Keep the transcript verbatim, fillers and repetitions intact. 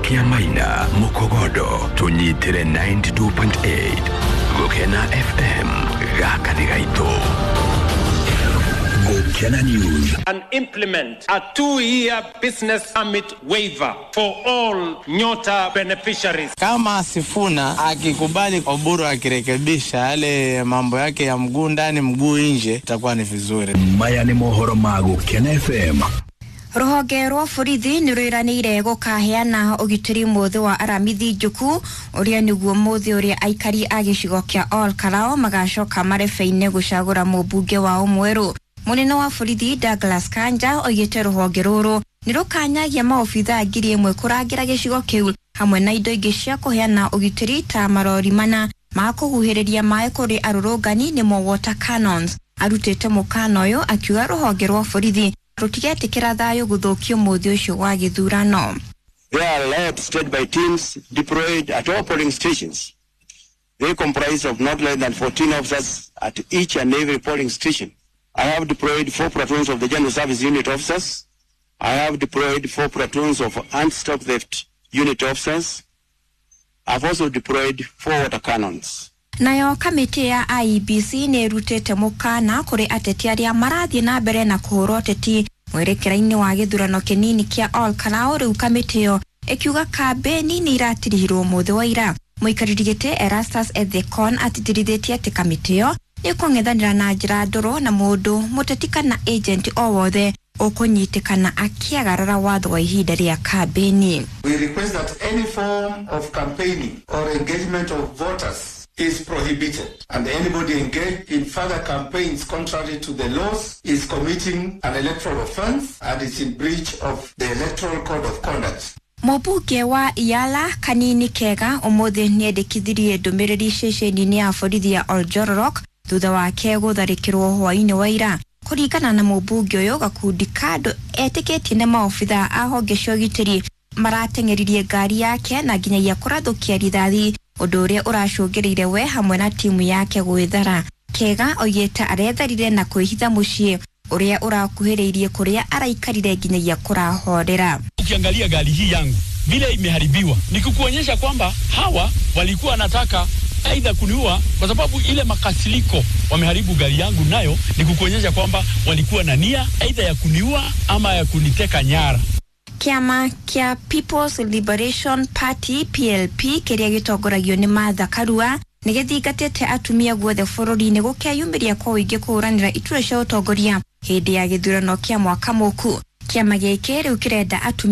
Kiamaina, Mukogodo, tunyitire ninety-two point eight. Gukena F M, gaka ni gaitũ. Gukena News. And implement a two-year business permit waiver for all Nyota beneficiaries. Kama Sifuna akikubali Oburu akirekebisha yale mambo yake ya mguu ndani mguu nje, itakuwa ni vizuri. Maya ni mohoro ma Gukena F M. Ruhonge rwa borithi nĩ rwĩranĩire gũkaheana ũgitĩri mũthĩ wa Aramithi Njuku ũrĩa nĩguo mũthĩ ũrĩa aikari a gĩcigo kĩa Ol Kalou magacoka marebe-inĩ gũcagũra mũmbunge wao mwerũ. Mũnene wa borithi Douglas Kanja oigĩte rũhonge rũrũ nĩ rũkanyagia maobithaa ngiri ĩmwe kũrangĩra gĩcigo kĩu hamwe na indo ingĩ cia kũheana ũgitĩri ta marori mana ma kũhuhĩrĩria maĩ kũrĩ arũrũngani nĩmo water cannons. Arutĩte mũkana ũyũ akiuga rũhonge rwa borithi rũtigetĩkĩra thayũ gũthũkio mũthĩ ũcio wa gĩthurano. They are led state by teams deployed at all polling stations. They comprise of not less than fourteen officers at each and every polling station. I have deployed four platoons of the General Service Unit officers. I have deployed four platoons of anti-stock theft unit officers. I've also deployed four water cannons. Nayo kamĩtĩ ya I E B C nĩ ĩrutĩte mũkana kũrĩ ateti arĩa marathiĩ na mbere na kũhũra ũteti mwerekera-inĩ wa gĩthurano kĩnini kĩa Ol Kalou. Rĩu kamĩtĩ ĩyo ĩkiuga kambĩni nĩ iratirihirwo mũthĩ wa ira. Mũikarĩri gĩtĩ Erastus Ethekon atitirithĩtie atĩ kamĩtĩ ĩyo nĩ ĩkũng'ethanĩra na njĩra ndũrũ na mũndũ mũteti kana agent o wothe ũkũnyitĩkana akĩagarara watho wa ihinda rĩa kambĩni. We request that any form of campaigning or engagement of voters is prohibited, and anybody engaged in further campaigns contrary to the laws is committing an electoral offense and is in breach of the Electoral Code of Conduct. Mũmbunge wa Iala Kanini Kega ũmũthĩ nĩendekithirie ndũmĩrĩri ceceni-inĩ ya borithi ya Oljororok thutha wake gũtharĩkĩrwo hwaĩ-inĩ wa ira. Kũringana na mũmbunge ũyũ, gakundi ka andũ etĩkĩtie nĩ maobithaa a honge cia ũgitĩri marateng'eririe ngari yake na nginyagia kũrathũkia rithathi, ũndũ ũrĩa ũracũngĩrĩire we hamwe na timu yake gwĩthara. Kega oigĩte aretharire na kwĩhitha mũciĩ ũrĩa ũrakuhĩrĩirie kũrĩa araikarire nginyagia kũrahorera. Ukiangalia gari hii yangu vile imeharibiwa, ni kukuonyesha kwamba hawa walikuwa wanataka aidha kuniua, kwa sababu ile makasiriko wameharibu gari yangu nayo ni kukuonyesha kwamba walikuwa na nia aidha ya kuniua ama ya kuniteka nyara. Kĩama kĩa People's Liberation Party P L P kĩrĩa gĩtongoragio nĩ Martha Karua nĩ gĩthingatĩte atumia guothe bũrũri-inĩ gũkeyumĩria kwa ũingĩ kũhũranĩra iturwa cia ũtongoria hĩndĩ ya gĩthurano kĩa mwaka mũku. Kĩama gĩkĩ rĩu kĩrenda atumia